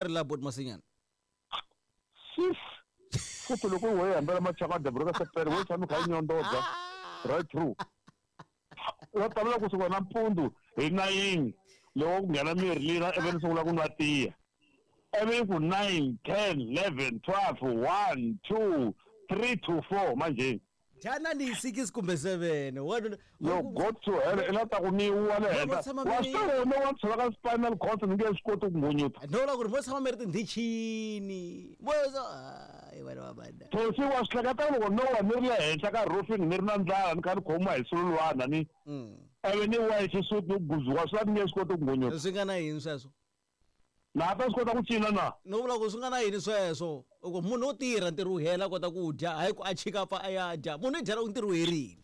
Ri la bot masinyana. Sis futhi loko wo hambela machaka dabura ka sepele wo tshama kha yi nyondodza right through va tavula kusuka nampundzu hi 9 loko ku nghena mirhi lina ivi ni sungula ku nwa tiya ivi yi ku 9 10 11 12 1 2 3 to 4 manjheni. Dyana ni 6 kumbe 7. Wa Yo go to hell i la ta ku ni wa le henhla. Wa swi tiva wena wa tshova ka spinal cord ni nge swi koti ku ngunyuta. No vula ku ri mo tshama mi ri tindhichini. Mo so hayi vana va banda. Thosi wa swi hleketa loko no wa ni ri le henhla ka roofing ni ri na ndlala ni kha ni khomiwa hi sululwana ni ivi ni wa hi xisuti ni guzuwa swi la ni nge swi koti ku ngunyuta. Swi nga na yini sweswo? Na ta swi kota ku cina na? No vula ku swi nga na yini sweswo? U ku munhu wo tirha ntirho wu hela a kota ku dya, hayi ku a chika pfa a ya dya. Munhu i dya loko ntirho wu herile.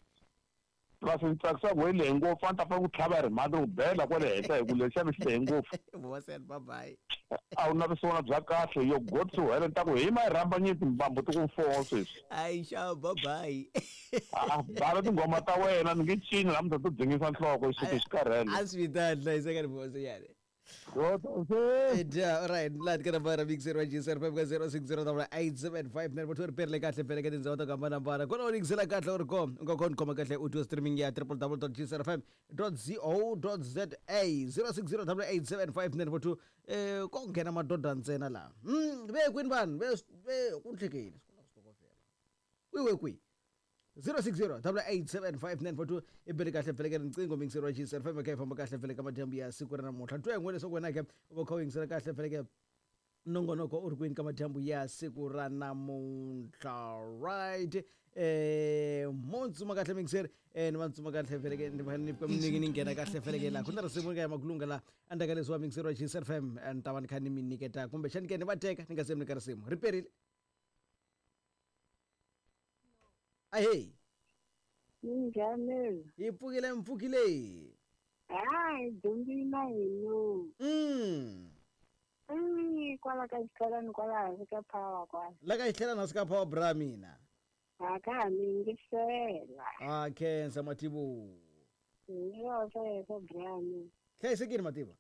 Plus ni tsakisa ku yi lehe ngopfu a ni ta fanele ku tlhava hi rimhandi ni ku bela kwale henhla hi ku lexiya xi lehe ngopfu. Vosel bye bye. A wu na vusiwana bya kahle yo go to hell ni ta ku hi ma yi rhamba nyiti mbambu ti ku foo sweswi. Hayi xa bye bye. A bala tinghoma ta wena ni nge cini namuntlha to dzingisa nhloko xisuti xi karhele. A swi vitani hlayiseka ni vosel. Yeah, all right. Laha ka nambara mixer wa GSR 5 ka 060875 ri perile kahle vhele ka tindhawu to hambanahambana. Kona u yingisela kahle u ri ko u nga kona khoma kahle u twa streaming ya www.gsrfm.co.za 060875 eh ko nghena madoda ntsena laha. Ve kwini vanhu ve ve ku nhlekeni. Wiwe kwihi? 0608875942 i bele kahle vhele ka riqingho mixer wa GSR 5 ka famba kahle vhele ka madyambu ya siku ra namuntlha. Twa yin'wana leswaku wena ke u va kha u yingisela kahle vhele ka nongonoko u ri kwini ka madyambu ya siku ra namuntlha. Right. Mo ntsuma kahle mixer ni va ntsuma kahle vhele ke ni va ni ni nghena kahle vhele ke la ku na risimu ka ya makulunga la endzhaku ka leswi wa mixer wa GSR FM ni ta va ni kha ni mi nyiketa kumbexani ke ni va teka ni nga se mi nyika risimu ri perile. Ahee. Minjhani? Hi pfukile mpfukile. Hayi dyondzile hi lo. Kwala ka xitlhelani kwala hansi ka power kwala. La ka xitlhelani hansi ka power bra mina. A ka ha mi yingisela. Ah khensa Mativo. Hi sweswo bra mina. Hlayisekile Mativa.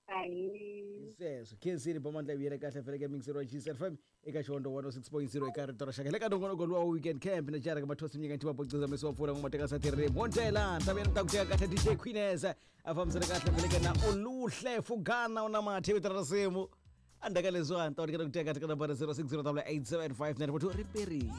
Ahee. Sweswo khensini bomandla yi vuyele kahle vhele ka mixer wa GSL FM eka xihondo 106.0 eka rito ra xaka le ka nongonoko luwa wa weekend camp na jara ka mathosi mnyika ntiwa bociza mesi wa pfula ngoma teka sa tirhi montela ta vuyela ta ku teka kahle DJ Queenes a fambisana kahle vhele ka na oluhle fugana una mathe vito ra risimu endzhaku ka leswiwani ta ku teka kahle ka nambara 06087594 riperi.